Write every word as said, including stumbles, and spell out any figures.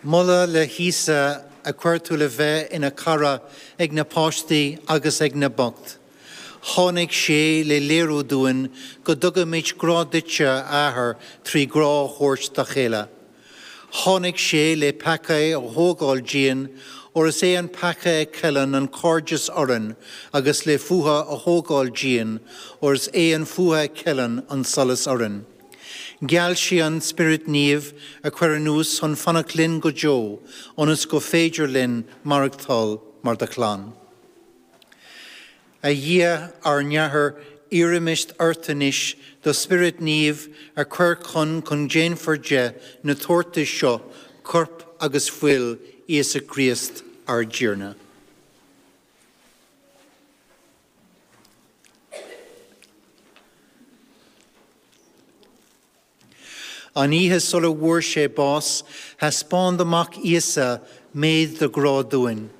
Moladh le hÍosa a chuir tú le bheith ina chara ag na páistí agus ag na boicht. Tháinig sé le léiriú dúinn go dtugaimid grá duitse a Athair trí ghrá a thabhairt dá chéile. Tháinig sé le peacaí a thógáil dínn, óir is é an peaca a cheileann an cairdeas orainn agus le fuath a thógáil dínn, óir is é an fuath a cheileann an solas orainn. Gheall sé an Spiorad Naomh a chur anuas chun fanacht linn go deo, ionas gur féidir linn maireachtáil mar do chlann. A Dhia ár nAthair iarraimid ort anois do Spiorad Naomh a chur chun chun déanfar de na tabhartais seo corp agus fuil Íosa Críost ár dTiarna. An oíche sula bhfuair sé bás, thaispeáin do Mhac Íosa méid do ghrá dúinn.